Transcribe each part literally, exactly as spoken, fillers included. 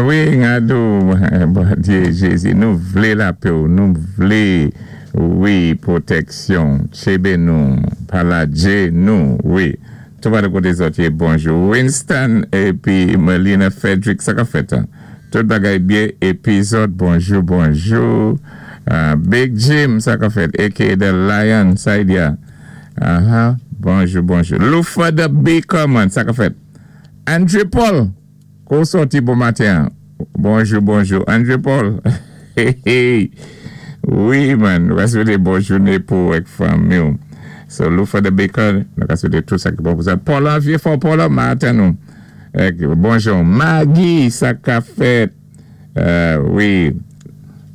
Wi, Ngadou, Bondyé Jézi, nou vlé lapè, nou vlé, wi, pwotèksyon, tjébé nou, pa lajé nou, wi. Tout pa de koté zòt yé, bonjou. Winston, épi Melina Frederick, sa ka fèt, en? Tout bagay byen, épi zòt, bonjou, bonjou. Uh, Big Jim, sa ka fèt, aka The Lion, sa y di. Uh-huh. Bonjou, bonjou. Lufa the Baker, man, sa ka fèt. André Paul, kou sòti bon maten. Bonjou, bonjou. André Paul. Hey, hey. Wi, man. Nou ka swété bon jouné pou èk fanmi. So, Lufa the Baker, nou ka swété tout sa ki bon pou sa. Paula, vyé fò Paula, maten nou. Èk, bonjou. Maggie, sa ka fèt. Euh, wi.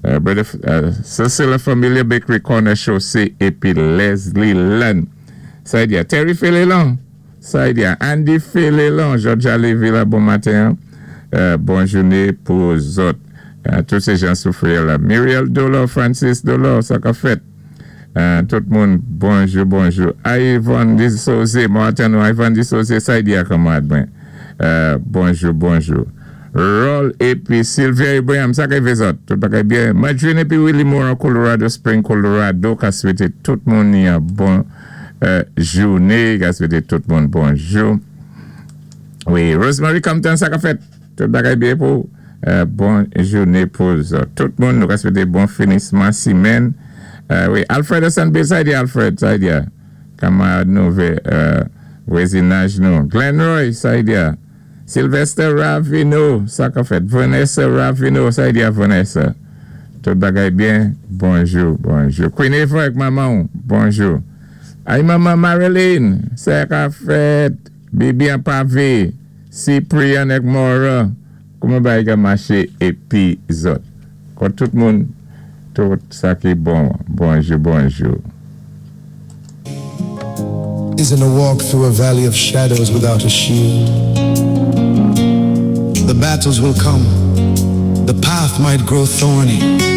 Euh, brother, euh, sa sé la Familia Bakery Corner Chaussée épi Leslie Lund. Sa y di, Terry Félélon. Sa y di, Andy Félélon, Georgia Levy la, bon maten. Euh, bon jouné pou zòt. Euh, tous sé jan soufri la. Muriel Dolo, Francis Dolo, sa ka fèt. Euh, tout moun, bonjou, bonjou. Ivan Disosé, maten nou, Ivan Disosé, sa y di kanmarad mwen. Euh, bonjou, bonjou. Roll épi Sylvia Ibrahim, sa ka fè zòt. Tout bagay byen. Madrine épi Willie Moore, Colorado Spring, Colorado, ka swété tout moun yon bon euh, jouné, ka swété tout moun bonjou. Wi, Rosemary Compton, sa ka fèt. Tout bagay byen pou euh, bon jouné pou zòt. Tout moun nou ka swété bon finisman simèn. Euh, wi, Alfred Sanbe, sa y di Alfred, sa y di. Kanmarad nou vé, euh, vwazinaj nou. Glenn Roy, sa y di. Sylvester Ravino, sa ka fèt. Vanessa Ravino, sa y di Vanessa. Tout bagay byen, bonjou, bonjou. Queen Eva ak manman, bonjou. Ay manman Marilyn, sa ka fèt. Bibi an pavé, Cyprian ak Mora, kouman bagay ka maché épi zòt. Kon tout moun, tout sa ki bon, bonjou, bonjou. Isn't a walk through a valley of shadows without a shield. The battles will come, the path might grow thorny.